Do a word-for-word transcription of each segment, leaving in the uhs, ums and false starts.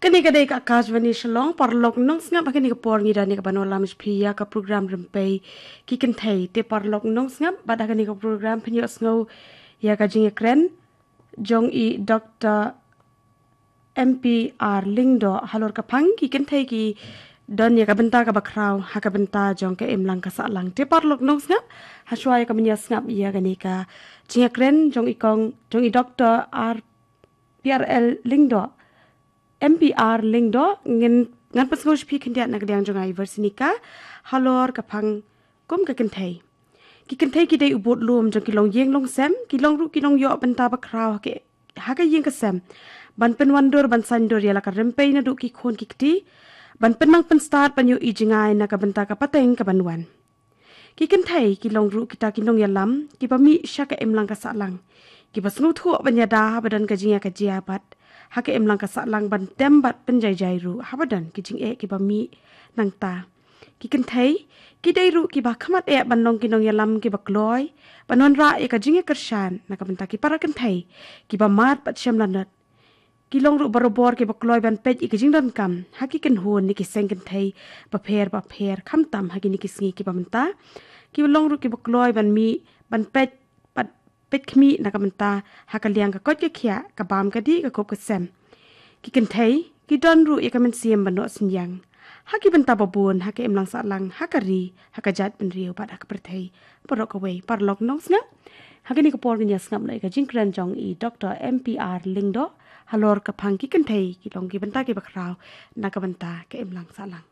Kane ka dei ka Akashvani Shillong, paralok nongsngap, ha kane ka por ngi don ïa ka ban wallam sha phi ïa ka program Rympei ki Kynthei. Te paralok nongsngap, bad ha kane ka program phin ïohsngew ïa ka jingïakren jong i Doktor M P R Lyngdoh halor ka phang ki kynthei ki don ïa ka bynta kaba khraw ha ka bynta jong ka imlang ka sahlang. Te paralok nongsngap, hashwa ïa ka ban ïasngap ïa kane ka jingïakren jong i kong, jong i Doktor R P R L Lyngdoh, M P R Lyngdoh, ngin, ngan pynsngew sha phi khyndiat na ka liang jong nga i Versinika halor ka phang kum ka kynthei. Ki kynthei ki dei u budlum jong ki longïing longsem, ki long ruh ki nongïoh bynta ba khraw ha ka, ha ka ïing ka sem, ban pynwandur ban saiñdur ïa la ka rympei naduh ki khun ki kti, ban pynnang pynstad ban ïohi jngai na ka bynta ka pateng ka ban wan. Ki kynthei ki long ruh kita ki nongïalam kiba mih sha ka imlang ka sahlang, kiba sngewthuh ban ïada haba don ka jingïakajia bad ha ka imlang ka sahlang, ban tem bad pynjaijai ruh haba don ki jingeh kiba mih nangta. Ki kynthei ki dei ruh kiba khmat eh ban long ki nongïalam kiba kloi, ban wanrah ïa ka jingïakyrshan na ka bynta ki para kynthei kiba mad bad shem lanot. Ki long ruh barabor kiba kloi ban peit ïa ka jingdonkam ha ki kynhun ne ki seng kynthei bapher bapher, khamtam ha kine ki sngi kiba mynta. Ki long ruh kiba kloi ban mih, ban peit, ban peit khmih na ka bynta ha ka liang ka koit ka khiah, ka bam ka dih, ka kup ka sem. Ki kynthei ki don ruh ïa ka mynsiem ban noh synñiang ha ki bynta babun, ha ka imlang sahlang, ha ka ri, ha ka jaitbynriew bad ha ka pyrthei baroh kawei. Paralok nongsngap, ha kane ka por ngin ïasngap noh ïa ka jingkren jong i Doktor M P R Lyngdoh halor ka phang ki kynthei ki long ki bynta kiba khraw na ka bynta ka imlang sahlang.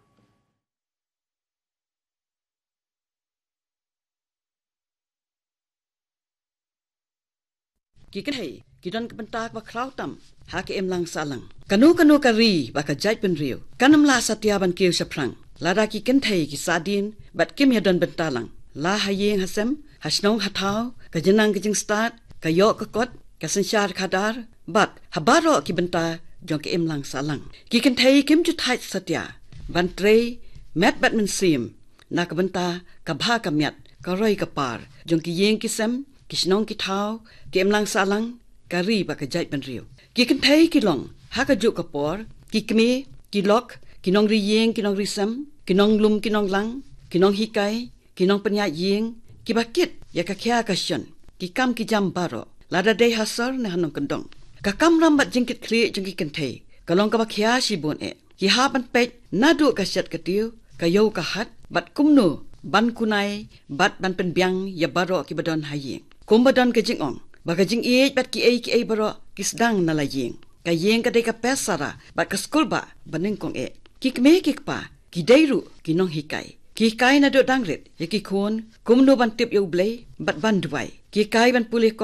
Ki kynthei ki don ka bynta kaba khraw tam ha ka imlang sahlang. Kano kano ka ri bad ka jaitbynriew kan ym lah satia ban kiew shaphrang lada ki kynthei ki sahdien bad kim ïadon bynta lang, la ha ïing ha sem, ha shnong ha thaw, ka jingnang ka jingstad, ka ïoh ka kot, ka synshar khadar, bad ha baroh ki bynta jong ka imlang sahlang. Ki kynthei kim ju thait satia ban trei met bad mynsiem na ka bynta ka bha ka miat, ka roi ka par jong ki ïing ki sem, ki shnong ki thaw, ka imlang sahlang, ka ri bad ka jaitbynriew. Ki kynthei ki long ha kajuh ka por ki kmie, ki lok, ki nongri ïing ki nongri sem, ki nonglum ki nonglang, ki nonghikai, ki nongpynïaid ïing, kiba kit ïa ka khia ka shon, ki kam ki jam baroh, lada dei ha sor ne ha nongkyndong. Ka kamram bad jingkitkhlieh jong ki kynthei ka long kaba khia shibun eh. Ki hap ban peit naduh ka shet ka tiew, ka ïew ka hat, bad kumno ban kunai bad ban pynbiang ïa baroh kiba don ha ïing. Kumba don ka jingong ba ka jingïeit bad kiei kiei baroh ki sdang na la ïing. Ka ïing ka dei ka pyrthei sara bad ka skulbah banyngkong eh. Ki kmie ki kpa ki dei ruh ki nonghikai. Ki hikai naduh dang rit ïa ki khun kumno ban tip ïa U Blei bad ban duwai. Ki hikai ban pule kot,